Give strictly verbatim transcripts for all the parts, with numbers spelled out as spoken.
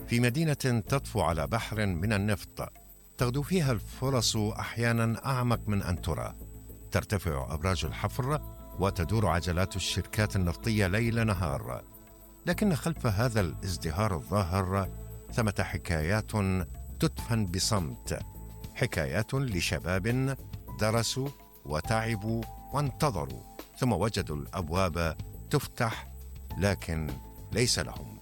في مدينة تطفو على بحر من النفط، تغدو فيها الفرص أحيانا أعمق من أن ترى. ترتفع أبراج الحفر وتدور عجلات الشركات النفطية ليل نهار، لكن خلف هذا الازدهار الظاهر ثمة حكايات تدفن بصمت، حكايات لشباب درسوا وتعبوا وانتظروا ثم وجدوا الأبواب تفتح لكن ليس لهم.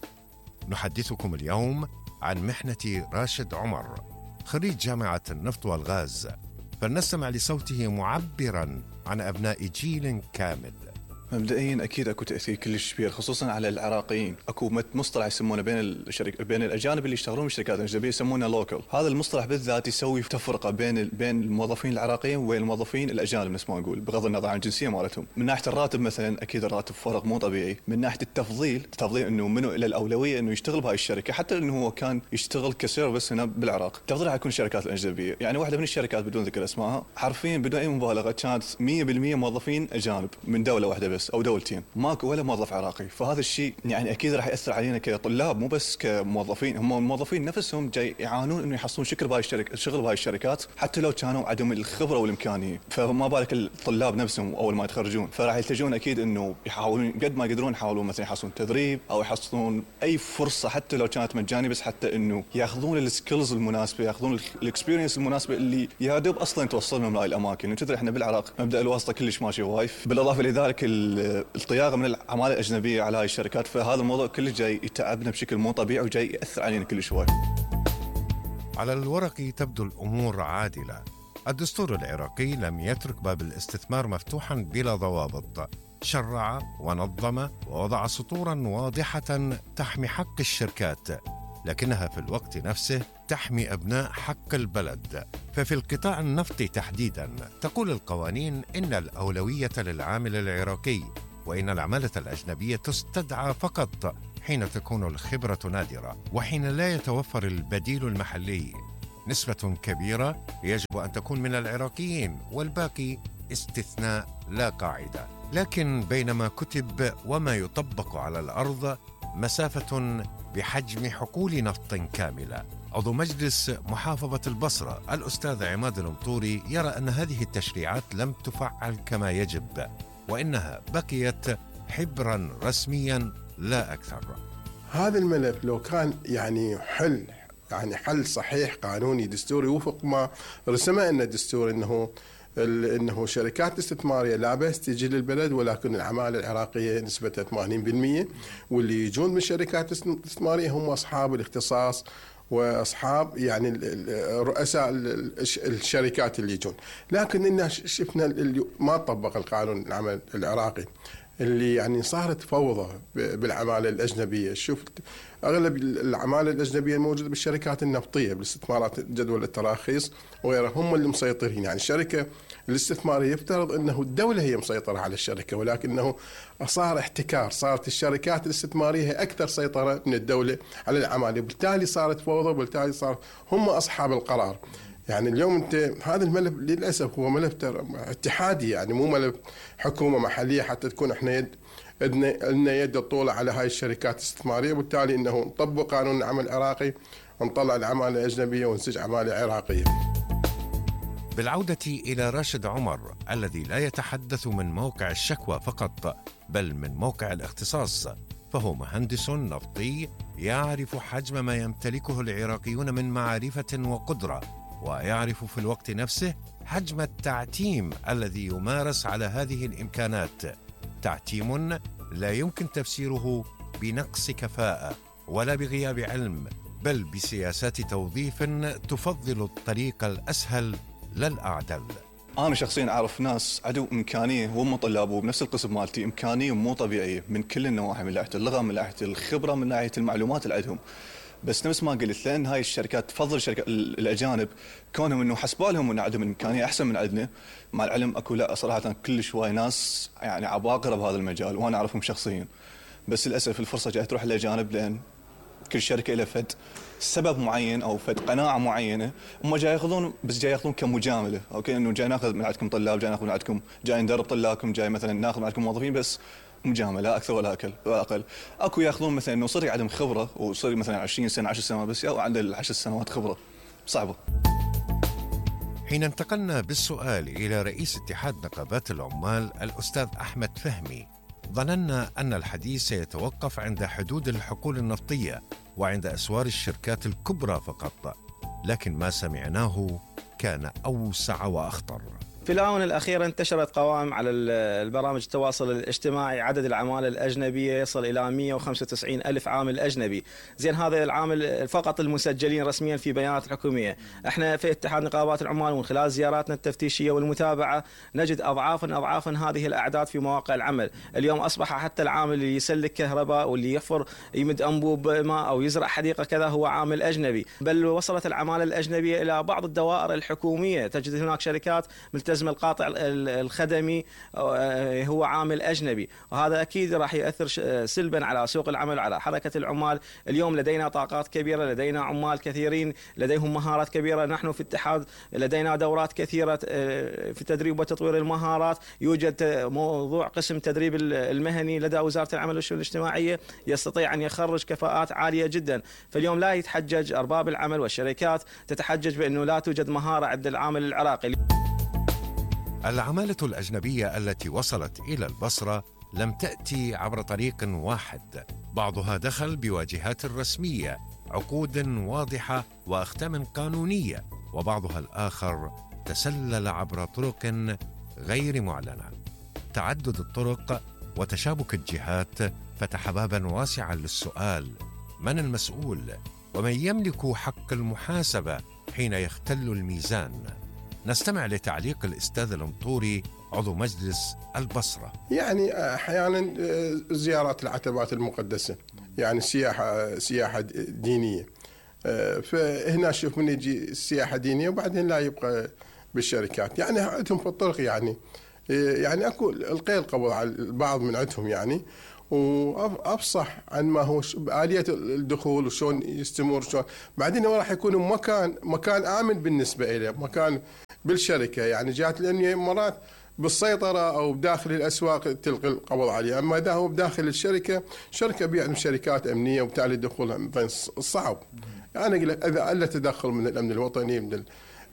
نحدثكم اليوم عن محنة راشد عمر، خريج جامعة النفط والغاز، فلنستمع لصوته معبرا عن أبناء جيل كامل. مبدئيا اكيد اكو تاثير كلش كبير خصوصا على العراقيين. اكو مصطلح يسمونه بين الشركه بين الاجانب اللي يشتغلون بالشركات الاجنبيه يسمونه لوكل. هذا المصطلح بالذات يسوي تفرقه بين بين الموظفين العراقيين وبين الموظفين الاجانب نفس ما نقول، بغض النظر عن الجنسيه مالتهم. من ناحيه الراتب مثلا اكيد الراتب فرق مو طبيعي. من ناحيه التفضيل تفضيل انه منو الى الاولويه انه يشتغل بهاي الشركه، حتى انه هو كان يشتغل كسيرفس هنا بالعراق تفضيل حيكون الشركات الاجنبيه. يعني واحده من الشركات بدون ذكر اسمائها حرفيا بدون اي مبالغه كانت مية بالمية موظفين اجانب من دوله واحده بس او دولتين، ماكو ولا موظف عراقي. فهذا الشيء يعني اكيد راح ياثر علينا كطلاب مو بس كموظفين. هم الموظفين نفسهم جاي يعانون انه يحصلون شكل بهاي الشركه شغل بهاي الشركات حتى لو كانوا عندهم الخبره والامكانيه، فما بالك الطلاب نفسهم اول ما يتخرجون. فراح يلتجون اكيد انه يحاولون قد ما يقدرون يحاولون مثلا يحصلون تدريب او يحصلون اي فرصه حتى لو كانت مجانيه، بس حتى انه ياخذون السكيلز المناسبه، ياخذون الاكسبيرينس المناسبه اللي يا دوب اصلا توصلهم لهاي الاماكن. وتدري احنا بالعراق مبدا الواسطه كلش ماشي وايف، بالاضافه لذلك الطياغه من العماله الاجنبيه على هاي الشركات. فهذا الموضوع كله جاي يتعبنا بشكل مو طبيعي وجاي ياثر علينا كل شوي. على الورق تبدو الامور عادله. الدستور العراقي لم يترك باب الاستثمار مفتوحا بلا ضوابط، شرع ونظم ووضع سطورا واضحه تحمي حق الشركات، لكنها في الوقت نفسه تحمي أبناء حق البلد. ففي القطاع النفطي تحديدا تقول القوانين إن الأولوية للعامل العراقي، وإن العمالة الأجنبية تستدعى فقط حين تكون الخبرة نادرة وحين لا يتوفر البديل المحلي. نسبة كبيرة يجب أن تكون من العراقيين والباقي استثناء لا قاعدة. لكن بين ما كتب وما يطبق على الأرض مسافة بحجم حقول نفط كاملة. عضو مجلس محافظة البصرة الأستاذ عماد المطوري يرى أن هذه التشريعات لم تفعل كما يجب، وإنها بقيت حبرا رسميا لا أكثر. هذا الملف لو كان يعني حل يعني حل صحيح قانوني دستوري وفق ما رسمه أن الدستور انه انه شركات استثماريه لا بأس تجي للبلد، ولكن العماله العراقيه نسبتها ثمانين بالمئة، واللي يجون من شركات استثماريه هم اصحاب الاختصاص واصحاب يعني رؤساء الشركات اللي يجون. لكن إن شفنا ما طبق القانون العمل العراقي اللي يعني صارت فوضى بالعمالة الأجنبية. شفت أغلب العمالة الأجنبية الموجودة بالشركات النفطية بالاستثمارات جدول التراخيص وغيرها هم اللي مسيطرين. يعني الشركة الاستثمارية يفترض أنه الدولة هي مسيطرة على الشركة، ولكنه صار احتكار، صارت الشركات الاستثمارية هي أكثر سيطرة من الدولة على العمالة، وبالتالي صارت فوضى وبالتالي صار هم أصحاب القرار. يعني اليوم انت هذا الملف للاسف هو ملف اتحادي، يعني مو ملف حكومه محليه حتى تكون احنا يد لنا يد الطولة على هاي الشركات الاستثماريه، وبالتالي انه نطبق قانون العمل العراقي ونطلع العماله الاجنبيه ونسج عماله عراقيه. بالعودة إلى راشد عمر الذي لا يتحدث من موقع الشكوى فقط بل من موقع الاختصاص، فهو مهندس نفطي يعرف حجم ما يمتلكه العراقيون من معرفة وقدرة، ويعرف في الوقت نفسه حجم التعتيم الذي يمارس على هذه الإمكانات، تعتيم لا يمكن تفسيره بنقص كفاءة ولا بغياب علم، بل بسياسات توظيف تفضل الطريق الأسهل لا الأعدل. أنا شخصياً أعرف ناس عندهم إمكانية وهم طلاب بنفس القسم مالتي، إمكانية مو طبيعية من كل النواحي، من ناحية اللغة، من ناحية الخبرة، من ناحية المعلومات اللي عندهم. بس نفس ما قلت لأن هاي الشركات تفضل الشركات الأجانب كونهم إنه حسبالهم إنه عندهم إمكانية أحسن من عندنا، مع العلم أكو لا صراحة كل شوي ناس يعني عباقرة بهذا المجال وأنا أعرفهم شخصياً، بس للأسف الفرصة جاي تروح للأجانب لأن كل شركة لها فد سبب معين أو فد قناعة معينة هم جاي ياخذون، بس جاي ياخذون كمجاملة. أوكي إنه جاي ناخذ من عندكم طلاب، جاي ناخذ من عندكم، جاي ندرب طلابكم، جاي مثلا ناخذ من عندكم موظفين، بس مجامله لا اكثر ولا اقل ولا اقل. اكو ياخذون مثلا انه صار عندهم خبره وصار مثلا عشرين سنه عشر سنوات بس او عنده عشر سنوات خبره صعبه. حين انتقلنا بالسؤال إلى رئيس اتحاد نقابات العمال الأستاذ أحمد فهمي، ظننا أن الحديث سيتوقف عند حدود الحقول النفطية وعند أسوار الشركات الكبرى فقط، لكن ما سمعناه كان أوسع وأخطر. في الآونة الأخيرة انتشرت قوائم على البرامج التواصل الاجتماعي، عدد العمالة الأجنبية يصل إلى مئة وخمسة وتسعين ألف عامل أجنبي. زين هذا العامل فقط المسجلين رسميا في بيانات الحكومية. احنا في اتحاد نقابات العمال ومن خلال زياراتنا التفتيشية والمتابعة نجد أضعافا أضعافا هذه الأعداد في مواقع العمل. اليوم أصبح حتى العامل اللي يسلك كهرباء واللي يحفر يمد أنبوب ماء أو يزرع حديقة كذا هو عامل أجنبي، بل وصلت العمالة الأجنبية إلى بعض الدوائر الحكومية. تجد هناك شركات ملتزمة القاطع الخدمي هو عامل أجنبي، وهذا أكيد راح يؤثر سلبا على سوق العمل وعلى حركة العمال. اليوم لدينا طاقات كبيرة، لدينا عمال كثيرين لديهم مهارات كبيرة. نحن في الاتحاد لدينا دورات كثيرة في تدريب وتطوير المهارات. يوجد موضوع قسم تدريب المهني لدى وزارة العمل والشؤون الاجتماعية يستطيع أن يخرج كفاءات عالية جدا. فاليوم لا يتحجج أرباب العمل والشركات تتحجج بأنه لا توجد مهارة عند العامل العراقي. العمالة الأجنبية التي وصلت إلى البصرة لم تأتي عبر طريق واحد، بعضها دخل بواجهات رسمية، عقود واضحة وأختام قانونية، وبعضها الآخر تسلل عبر طرق غير معلنة. تعدد الطرق وتشابك الجهات فتح بابا واسعا للسؤال: من المسؤول؟ ومن يملك حق المحاسبة حين يختل الميزان؟ نستمع لتعليق الأستاذ المطوري عضو مجلس البصرة. يعني أحيانا زيارات العتبات المقدسة، يعني سياحة سياحة دينية، فهنا شوف من يجي السياحة دينية وبعدين لا يبقى بالشركات. يعني عندهم في الطرق يعني يعني أكو القيل قبض على البعض من عندهم يعني، وأفصح عن ما هو آلية الدخول وشون يستمر شون. بعدين هو راح يكون مكان مكان آمن بالنسبة إليه، مكان بالشركة. يعني جات الأمنية مرات بالسيطرة أو بداخل الأسواق تلقي القبض عليه، أما إذا هو بداخل الشركة شركة بيعني شركات أمنية وبالتالي الدخول صعب. يعني أقول لك إذا ألا تدخل من الأمن الوطني من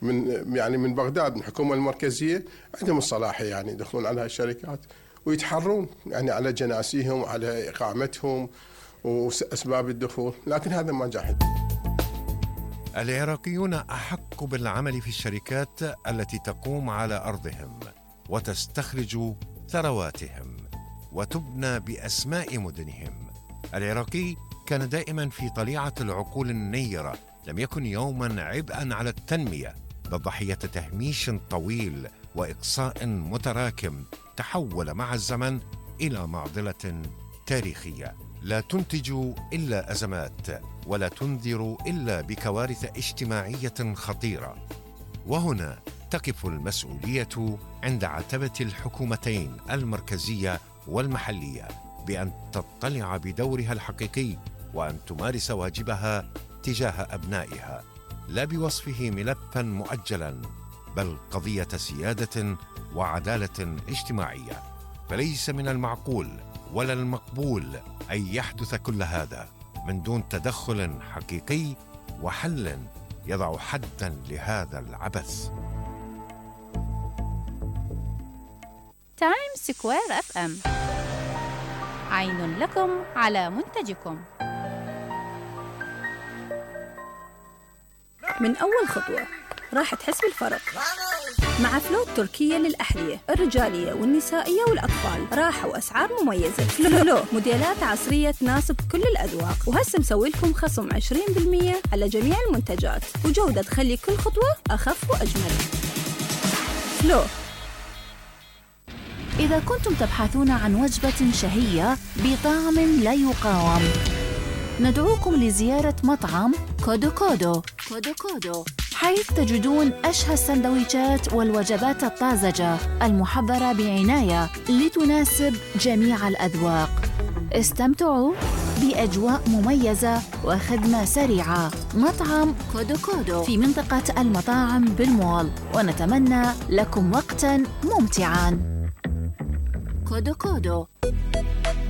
من يعني من بغداد من الحكومة المركزية عندهم الصلاحية يعني يدخلون على الشركات ويتحرون يعني على جناسيهم وعلى إقامتهم وأسباب الدخول، لكن هذا ما جاحد. العراقيون أحق بالعمل في الشركات التي تقوم على أرضهم وتستخرج ثرواتهم وتبنى بأسماء مدنهم. العراقي كان دائما في طليعة العقول النيرة، لم يكن يوما عبئا على التنمية، بل ضحية تهميش طويل وإقصاء متراكم تحول مع الزمن إلى معضلة تاريخية لا تنتج إلا أزمات ولا تنذر إلا بكوارث اجتماعية خطيرة. وهنا تقف المسؤولية عند عتبة الحكومتين المركزية والمحلية بأن تطلع بدورها الحقيقي وأن تمارس واجبها تجاه أبنائها، لا بوصفه ملفا مؤجلا بل قضية سيادة وعدالة اجتماعية. فليس من المعقول ولا المقبول أن يحدث كل هذا من دون تدخل حقيقي وحل يضع حدا لهذا العبث. تايم سكوير اف ام، عين لكم على منتجكم. من أول خطوة راح تحس بالفرق مع فلو التركية للأحذية الرجالية والنسائية والأطفال. راحة وأسعار مميزة. فلو موديلات عصرية تناسب كل الأذواق، وهسه مسوي لكم خصم عشرين بالمئة على جميع المنتجات وجودة تخلي كل خطوة أخف وأجمل. فلو. إذا كنتم تبحثون عن وجبة شهية بطعم لا يقاوم، ندعوكم لزيارة مطعم كودو كودو كودو كودو، حيث تجدون أشهى السندويشات والوجبات الطازجة المحضرة بعناية لتناسب جميع الأذواق. استمتعوا بأجواء مميزة وخدمة سريعة. مطعم كودو كودو في منطقة المطاعم بالمول، ونتمنى لكم وقتاً ممتعاً. كودو كودو.